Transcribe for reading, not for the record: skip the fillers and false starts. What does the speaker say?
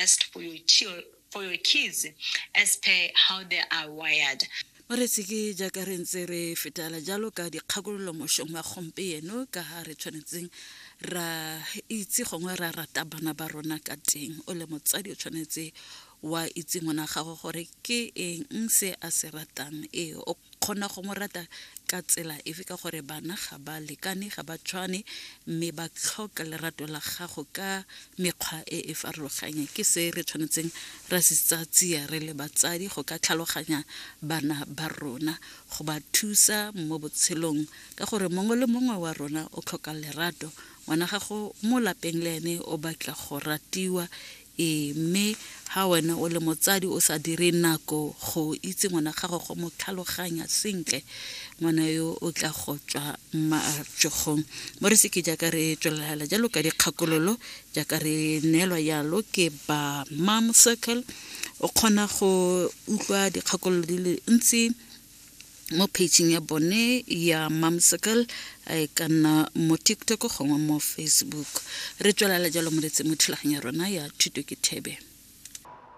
best for your for your kids as per how they are wired. Moreetsi ke jaaka re ntse re fetela jalo ka dikgakololo mošong wa gompieno ka ga re tshwanetseng ra itse gongwe ra rata bana ba rona ka teng. O le motsadi o tshwanetse wa itse ngwana gago gore ke eng se a se ratang ee o kgona go mo rata ka tsela efe ka gore bana ga ba lekane ga ba tshwane mme ba tlhoka lerato la gago ka mekgwa e e farologanyeng ke se re tshwanetseng ra se tsaya tsia re le batsadi go ka tlhaloganya bana ba rona go ba thusa mo botshelong ka gore mongwe le mongwe wa rona o tlhoka lerato ngwana gago mo lapeng le ene o batla go ratiwa Ee, mme ha wena o le motsadi o sa dire nako go itse ngwana gago go mo tlhaloganya sentle, ngwana yo o tla go tswa matsogong. Mo re seke jaaka re tswelela jalo ka dikgakololo jaaka re neelwa jalo ke ba Mom Circle, o kgona go utlwa dikgakololo di le ntsi mo page-ing ya bone ya Mom Circle a e ka nna mo TikTok gongwe mo Facebook. Re tswelela jalo moretsi mo thulaganyo ya rona ya Thuto ke Thebe.